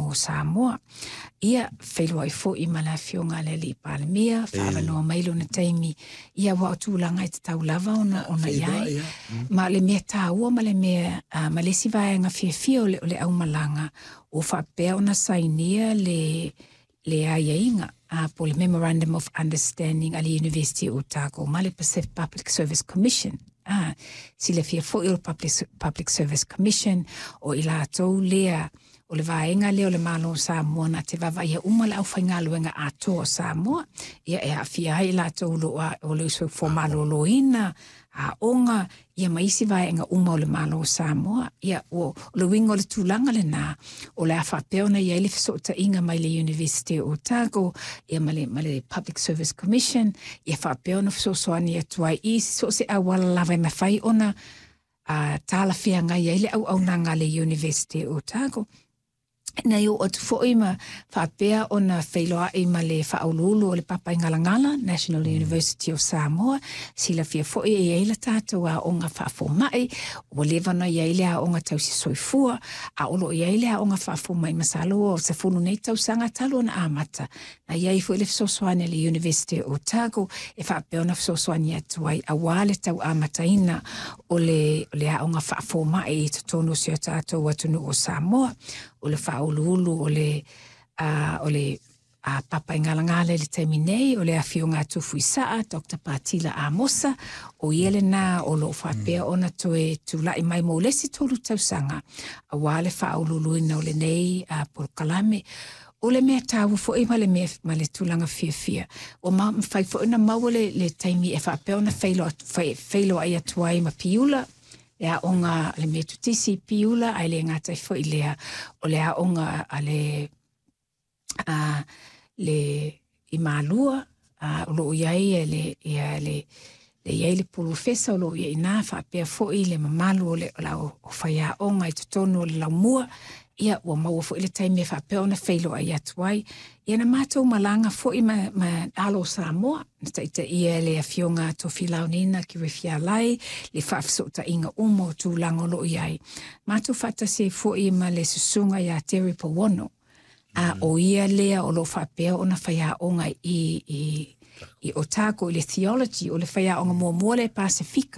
atunuu o Samoa. Ia, feiloai foi ma le afioga i le Alii Palemia, faaavanoa mai lona taimi, ia aua o tulaga e tatau lava ona ona i ai. Ma o le mea taua ma le mea ma le isi vaega fiafia o le aumalaga, ua faapea ona sainia le aiaiga po o le Memorandum of Understanding a le University o Otago ma le Pacific Public Service Commission. Silafia foi o le Public Service Commission, o i latou lea o le vaega lea o le Malo o Samoa na te vaavaaia uma le aufaigaluega atoa o Samoa, ia e aafia ai i latou o le soifua maloloina, aoga, ia ma isi vaega uma o le Malo o Samoa. Ia, o le uiga o le tulaga lena, o le a faapea ona i ai le fesootaiga mai le University o Otago ia ma le Public Service Commission, ia faapea ona fesoasoani atu ai i so o se auala lava e mafai ona talafeagai ai le auaunaga a le University o Otago. Na i oo atu foi ma faapea ona feiloai ma le faauluulu o le Papaigalagala, National University of Samoa. Silafia foi e i ai le tatou aoga faafomai, ua leva ona i ai le aoga tausi soifua, a o loo i ai le aoga faafomai. Masalo o 10 nei tausaga talu ona amata. Na i ai foi le fesoasoani a le University o Otago e faapea ona fesoasoani atu ai aua le tau amataina o le aoga faafomai i totonu o si o tatou atunuu o Samoa. O le faauluulu o le Papaigalagala i le taimi nei, o le afioga a Tufuisaa, Dr. Patila Amosa, o ia lena o loo faapea ona toe tulai mai mo le isi 3 tausaga aua le faauluuluina o lenei polokalame. O le mea taua foi ma le mea ma le tulaga fiafia, ua mafai foi ona maua le taimi e faapea ona feiloai atu ai ma Piula, le aoga a le Metotisi Piula, ae le gata ai foi lea o le aoga a le i Malua, o loo i ai le ia le i ai le polofesa o loo i ai ina, faapea foi le mamalu o faiaoga i totonu o le laumua. Ia, ua maua foi le taimi e faapea ona feiloai atu ai. Ia, na matou malaga foi ma alo o Samoa na taitaia le afioga Tofilaunina Kirifialai le faafesootaiga uma o tulaga o loo i ai. Matou faatasi ai foi ma le susuga ia Terry Pawono, a o ia lea o loo faapea ona faiaoga i Otago i le theology, o le faiaoga muamua le Pasifika.